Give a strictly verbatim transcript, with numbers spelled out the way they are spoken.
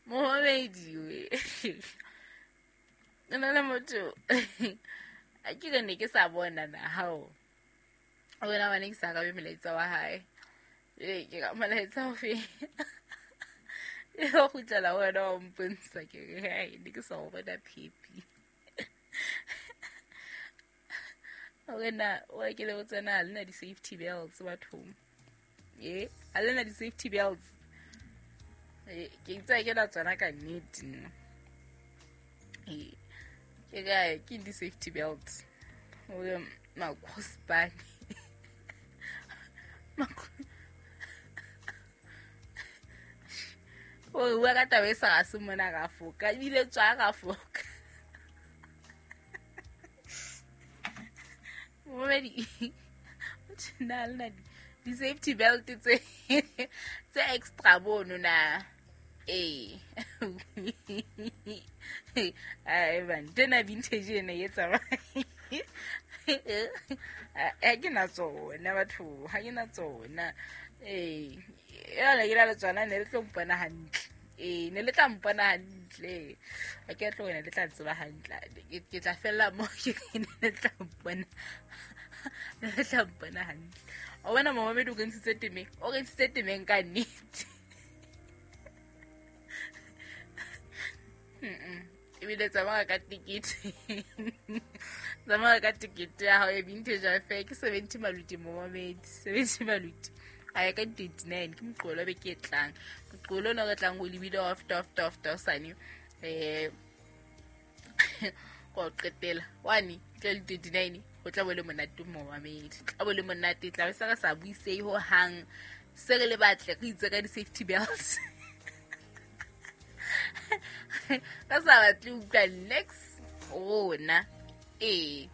Momamedi we. Nna le motho a ke re ne ke sa bona na hao. Wena wa ne ke sa arabe molaetsa wa hae. Ee, ke ka molaetsa ofe? E go kgutlela ho wena wa mpontsha ke re hai ne ke sa o bona phepi. Wena wa ke le botsa na le na di-safety belts bathong. Ee, a le na di-safety belts. Ee, ke itse ke la tsona ka nnete nna. Ee, ke kae ke di-safety belts. Hore makgospane. O bua ka taba e sa ga se mona ga foka ebile tswa ga foka. Momedi na le na di-safety belt tse tse extra bono na. Ee. Ai ban tena vintage ena e tsamaya. Ha ke na tsona batho, ha ke na tsona. Ee, yona ke na le tsona ne le tlo mpona hantle. Ee, ne le tla mpona hantle. Ha ke tlo wena le tla tseba hantle. Ke tla fella mo ke ne le tla mpona. Ne le tla mpona hantle. O wena momamedi o kentshitse temeng, o kentshitse temeng ka nnete. Ebile tsamaya ka tikete. Tsamaya ka tikete ya hao ya Vintage F M ke seventy maluti momamedi, seventy maluti. A ya ka twenty-nine ke moqolo be ke e tlang. Moqolo ona re tlang ho lebile after after after sane. Eh go qetela. One tla le twenty-nine ho tla bo le monate momamedi. Tla bo le monate tla be se re sa buisei ho hang. Se re le batle re itse ka di-safety belts. Ka sa batle utlwa next rona. Ee.